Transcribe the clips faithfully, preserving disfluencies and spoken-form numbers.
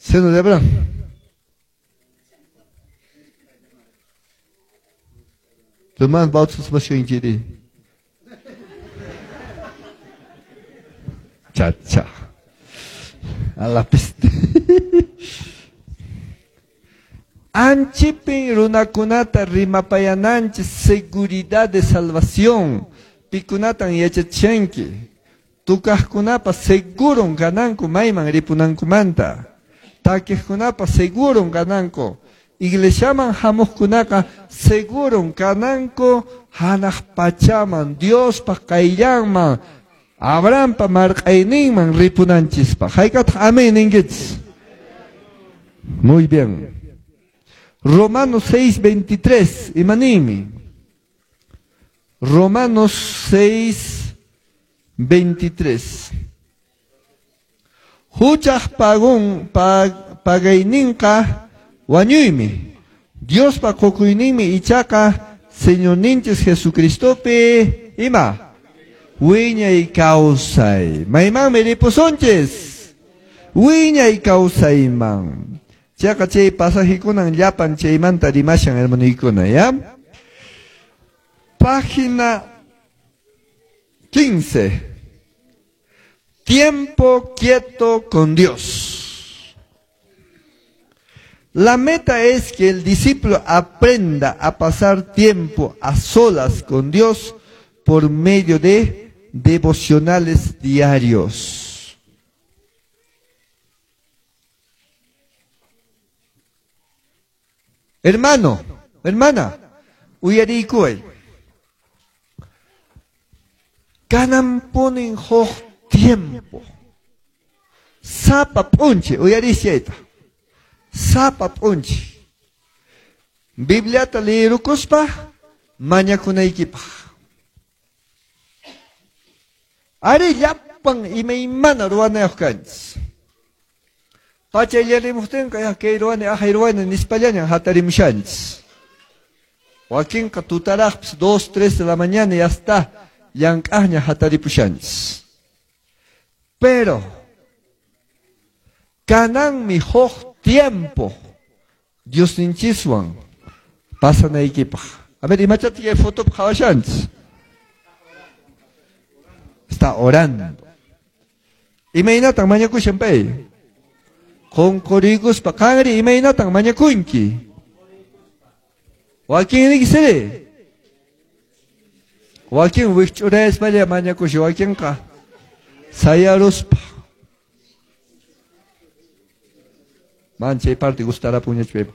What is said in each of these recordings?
Seno de Abraham. Hermano, bautizos Chacha. A la peste. Anchipin runakunata rimapayananchis seguridad de salvación. Pikunatan yachachanki. Tukaqkunapa seguron kananku mayman ripunankumanta. Takiqkunapa seguron kananku. Iglesiaman hamuqkunaqa seguron kananku hanaq pachaman Diospa qayllanman Abrahampa marq'ayninman ripunanchispaq. Hayk'ataq amén ninkichis. Muy bien. Romanos seis veintitrés, imanimi. Romanos seis veintitrés. Huchaq pagun pag, pagayninqa wañuymi. Diospa qukuyninmi ichaqa Señorninchis Jesucristopi ima wiñay kawsay. Maymanmi ripusunchis. Wiñay kawsayman. Chaqa chay pasajikunan llapan chaymanta rimashan hermanuykuna, ¿ya? Página quince. Tiempo quieto con Dios. La meta es que el discípulo aprenda a pasar tiempo a solas con Dios por medio de devocionales diarios. Hermano, hermana, uyariykuway. Kanan ponen huk tiempo. Sapa p'unchi, uyarisyayta. Sapa p'unchi. Bibliata liyirukuspa mañakunaykipaq. Ari llapan imaymana ruwanayuq kanchis. Pachayllarimuqtinqa ya kay ruwani ahay ruwani nispallañan hatarimushanchis. Wakinqa tutaraqpis dos, tres de la mañana ya está llank'aqña hataripushanchis. Pero kananmi huk tiempo Diosninchiswan pasanaykipaq. A ver, imachata kay fotopi qhawashanchis. Está orando. Imaynatan mañakushan pay? Qunquriykuspa qanri imaynatan mañakunki? Wakinriki siri? Wakin wikch'urayaspalla mañakushan, wakinqa sayaruspa. Man chay parte gustarapunñachu paypa.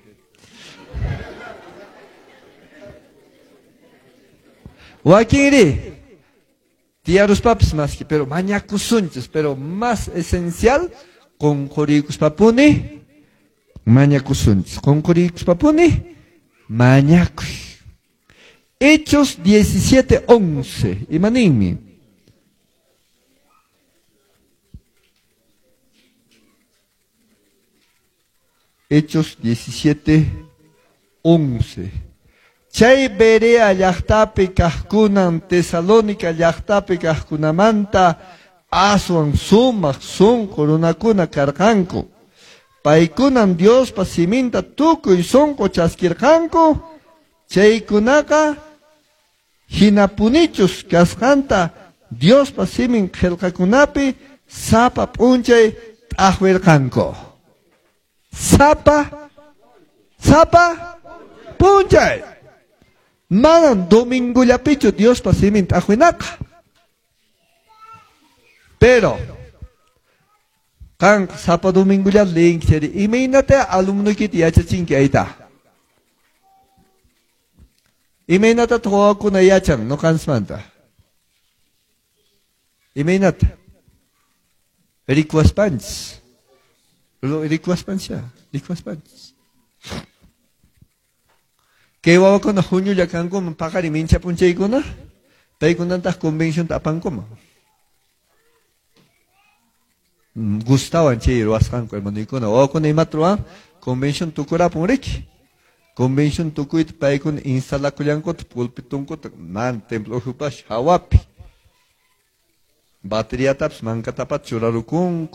Wakinri tiyaruspapis maski, pero mañakusunchis, pero más esencial qunquriykuspapuni mañakusunchis. Qunquriykuspapuni mañakuy. Hechos diecisiete once. Imaninmi. Hechos diecisiete once. Chay Berea llaqtapi kaqkunan Tesalónica llaqtapi kaqkunamanta aswan sumaq sunqu runakuna karqanku. Paykunan Diospa siminta tukuy sunqu chaskirqanku. Chaykunaqa hinapunichus kasqanta Diospa simin qillqakunapi sapa p'unchay t'aqwirqanku. Sapa, sapa p'unchay. Manan domingullapichu Diospa simin t'aqwinaqa. Pero qanqa sapa domingulla leyinki chayri imaynata alumnuykita yachachinki ayta. Imaynatataq wawakuna yachan ñuqanchismanta. Imaynata? Rikuwaspanchis. Rikuwaspanchis, rikuwaspanchis. Kay wawakuna huñulla kankuman paqarin mincha p'unchaykuna, paykunataq convencionta apankuman. Gustawan chay ruwasqanku hermanuykuna. Wawakuna imata ruwan convención tukurapun riki. Convención tukuyta paykuna instalakullankuta pulpitunkuta man templo ukhupash hawapi. Bateriatapis mankatapata churarukunku.